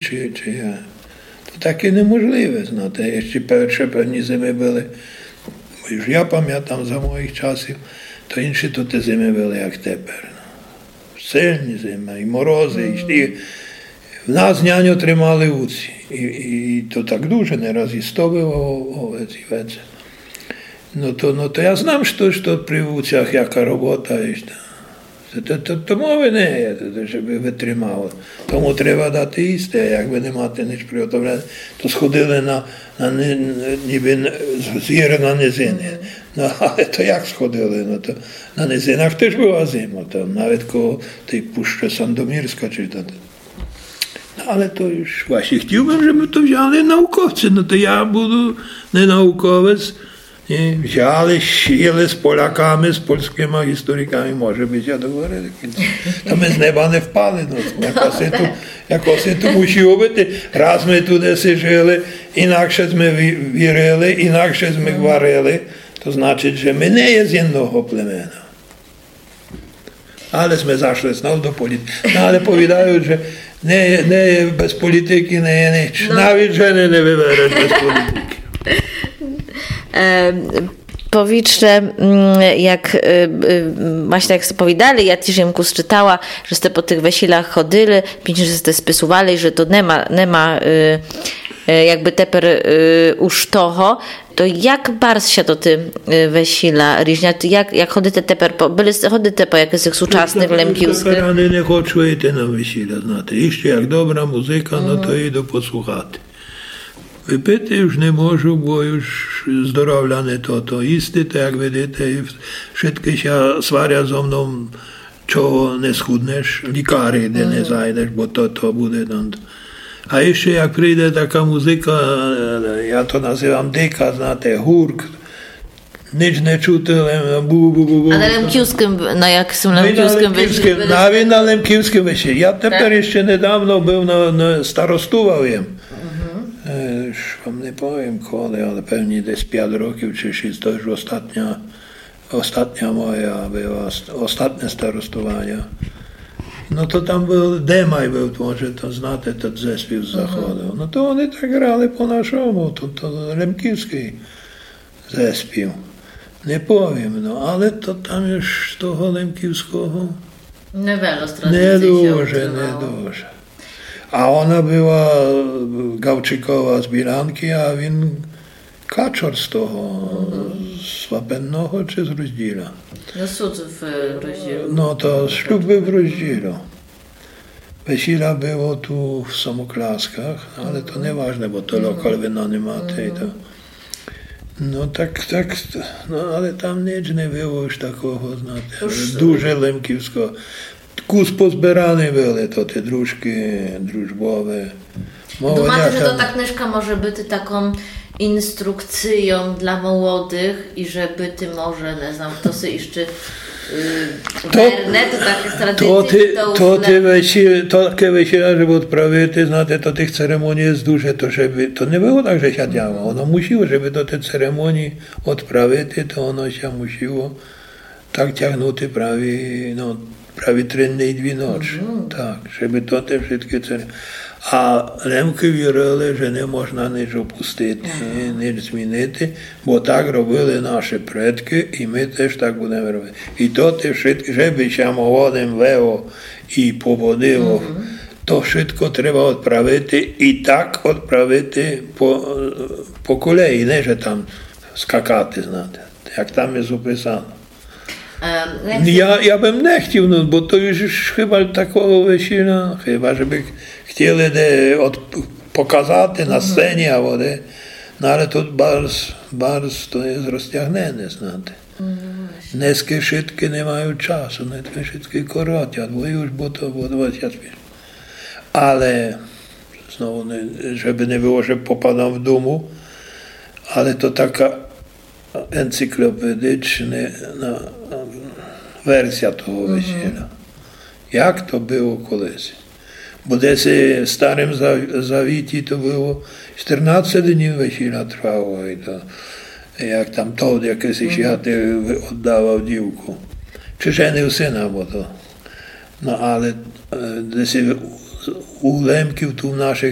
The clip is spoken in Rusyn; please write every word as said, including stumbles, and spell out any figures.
чи, чи я. То таке неможливе, знате. Іщи перше певні зимы были, бо уж я памятам за моїх часів, то інші то ті зимы были, як тепер. Ну. Сильні зимы, і морозы, і сніг. В нас няньо тримали вуці. І, і, і то так дуже, не раз і сто было овец, і веце. Но то, но то я знам, што, што при вуцях яка робота, і што. То, то, то, то мовы не є, то, то, жебы вытримало. Тому треба дати їсти, а якбы не мати нич приготовлене, то сходили на, на ни-, нібы н-, з гір на низины. Но, але то як сходили? Но, то на низинах тыж была зима, там навет коло тей пущы Сандомірска, чи то. Но, але то уж власьні хотів бым, жебы то взяли науковці, но то я буду не науковец, Ні, взяли, сіли з поляками, з польскыма істориками, може быти, а договорили в кінци. Та мы з неба не впали, но, якоси то, якоси то мусіло быти. Раз мы туды си жили, інакше сме ві-, вірили, інакше сме гварили, то значыт, же мы не є з єдного племена. Але сме зашли знов до політикы. Но, але повідают, же не є, не є, без політикы не є нич. Но. Навет жены не выбереш без політикы. Е, повіджте, м, як, е, е, власьні як сте повідали, я тіж єм кус чытала, же сте по тых весілях ходили, пізніше сте списували, же то нема, нема, е, е, якбы тепер, е, уж того. То як барз ся тоты, е, весіля ріжнят? Як, як ходите тепер по, были сте, ходите по якыхось сучасных лемківскых? Тепер ани не хочу іти на весіля, знате. Іщи як добра музыка, но то іду послухати. Выпити уж не можу, бо уж здоровля не то, то їсти, то як видите, і вшыткы ся сварят зо мном, чого не схуднеш, лікарі де не зайдеш, бо то, то буде там. А іщи як прийде така музыка, е, я то называм дика, знате, гурк, нич не чути, лем бу-бу-бу-бу. А на лемківскым, на якым лемківскым весілю? Навет на лемківскым весілю. Я тепер іщи недавно быв на, на, старостував єм. Е, уж вам не повім коли, але певні десь пят років чи шіст, то уж остатня Остатня моя была, ост-, остатне старостованя. Но то там быв, Демай быв, може, то знате, тот зеспів з заходу. Но то они так грали по нашому, то, то лемківскый зеспів. Не повім, но, але то там уж того лемківского не дуже, не дуже. А она была, е, Гавчикова з Білянкы, а він Качор з того, з Вапенного чи з Розділя? Но, сут в Розділю. Но, то шлюб быв в Розділю. Весіля было ту в Самоклясках, але то не важне, бо то локал вынанимати і то. Но, так, так, но, але там нич не было уж такого, знате, дуже лемківского. Кус позбераны были то тоты дружкы, дружбовы. Думате, же тота книжка може быти таком інструкцийом для молодых і же быти може, не знам, хто си іщы, е, верне до такых традиций, то, то, то весіля, таке весіля, жебы одправити, знате, то тых церемоній є дуже, то жебы, то не было так, же ся дяло. Оно мусіло, жебы до тых церемоній одправити, то оно ся мусіло так тягнути праві, но, праві три дни і дві ночы. Так, жебы то те вшыткы цере-, а лемкы вірили, же не можна нич опустити, нич змінити, бо так робили нашы предкы, і мы тыж так будеме робити. І то те вшыткы, жебы ся молодым вело і поводило, то вшытко треба одправити і так одправити по, по колеї, не же там скакати, знате, як там є описано. Я, я бым не хотів, но, бо то уж хыба такого весіля, хыба же бы хотіли де од-, показати на сцені або де. Но, але тут барз, барз то є розтягнене, знате. Днеска вшыткы не мають часу, днеска вшыткы коротять, бо уж, бо то, бо двадцять пять. Але, знову, не, жебы не было, же попадам в думу, але то така енциклопедична, но, версія того весіля. Як то было колиси? Бо десь в Старым Зав-, Завіті то было чотырнадцять днів весіля тривало, і то, як там тот якысь іщы оддавав дівку. Чи женив сына, бо то. Но, але, е, десь у у лемків ту нашых